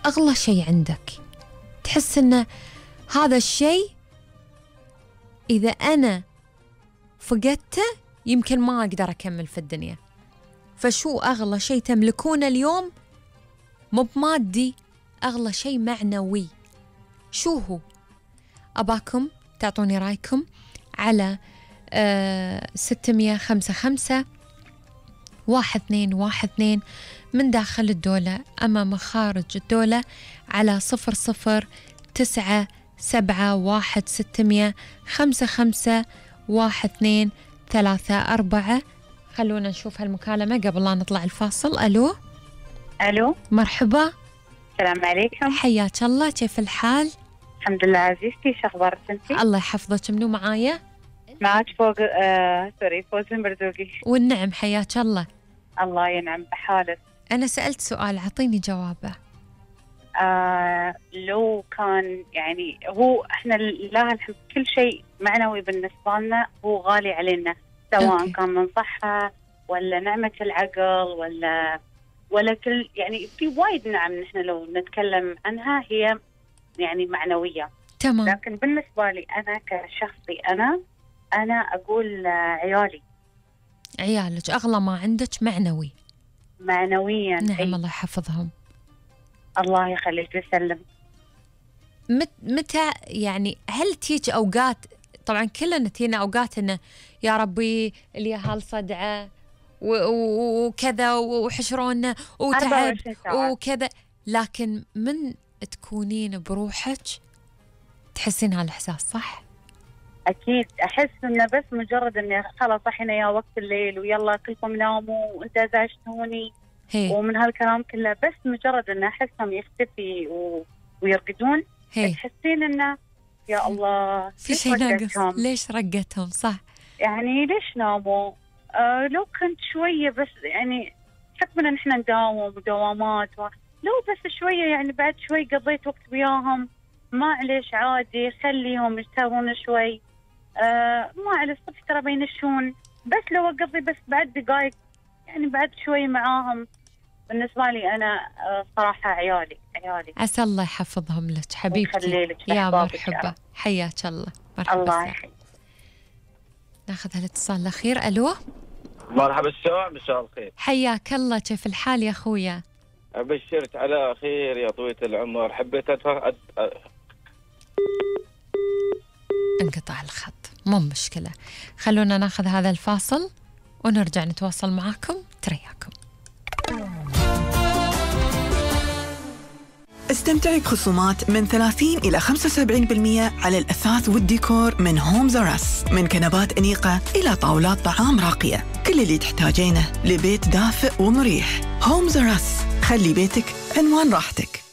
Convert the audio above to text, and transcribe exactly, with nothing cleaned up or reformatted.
أغلى شيء عندك، تحس إن هذا الشيء إذا أنا فقدته يمكن ما أقدر أكمل في الدنيا. فشو أغلى شيء تملكونه اليوم؟ مو بمادي، أغلى شيء معنوي. شو هو؟ أباكم تعطوني رأيكم على آه ستمية خمسة خمسة واحد اثنين واحد اثنين من داخل الدولة أما من خارج الدولة على صفر صفر تسعة سبعة واحد ستمية خمسة خمسة واحد اثنين ثلاثة أربعة. خلونا نشوف هالمكالمة قبل لا نطلع الفاصل. ألو. ألو مرحبا. السلام عليكم. حياك الله، كيف الحال؟ الحمد لله عزيزتي، شو أخبارك أنتي؟ الله يحفظك. منو معايا؟ معك فوق آه... سوري فوز المرزوقي. والنعم، حياك الله. الله ينعم بحالك. أنا سألت سؤال، أعطيني جوابه. آه... لو كان يعني هو إحنا لله الحمد كل شيء معنوي بالنسبة لنا هو غالي علينا، سواء أوكي. كان من صحة ولا نعمة العقل ولا ولا كل يعني في وايد نعم نحن لو نتكلم عنها هي يعني معنوية. تمام. لكن بالنسبة لي أنا كشخصي أنا أنا أقول عيالي. عيالك أغلى ما عندك معنوي. معنويا. نعم. أي. الله يحفظهم. الله يخليك ويسلم. مت متى يعني هل تيجي أوقات، طبعا كلنا تينا أوقات إنه يا ربي اليهال صدعة وكذا وحشرونا وتعب وكذا، لكن من تكونين بروحك تحسين هالإحساس صح؟ أكيد أحس إنه بس مجرد إني خلاص صحينا يا وقت الليل ويلا كلكم ناموا وأنت ازعجتوني ومن هالكلام كله، بس مجرد إنه أحسهم يختفي و... ويرقدون هي. تحسين إنه يا الله في شيء ناقص، ليش رقتهم؟ صح، يعني ليش ناموا؟ آه لو كنت شوية بس يعني حكم إن إحنا نداوم ودوامات و... لو بس شوية يعني بعد شوي قضيت وقت وياهم معليش عادي، خليهم يشتغلون شوي. آه ما على الصبح ترى بينشون، بس لو أقضي بس بعد دقايق يعني بعد شوي معاهم. بالنسبة لي أنا آه صراحة عيالي عيالي عسى الله يحفظهم لك حبيبتي. يا مرحبا، حياك الله. مرحبا. الله يحييك. ناخذ هالاتصال الأخير. ألو. مرحبا السلام، مساء الخير. حياك الله، كيف الحال يا أخويا؟ أبشرت على خير يا طويلة العمر. حبيت أتفرج. انقطع الخط، مو مشكلة، خلونا ناخذ هذا الفاصل ونرجع نتواصل معاكم. ترياكم. استمتعي بخصومات من ثلاثين إلى خمسة وسبعين بالمئة على الأثاث والديكور من هومز أر أس، من كنبات أنيقة إلى طاولات طعام راقية، كل اللي تحتاجينه لبيت دافئ ومريح. هومز أر أس، خلي بيتك عنوان راحتك.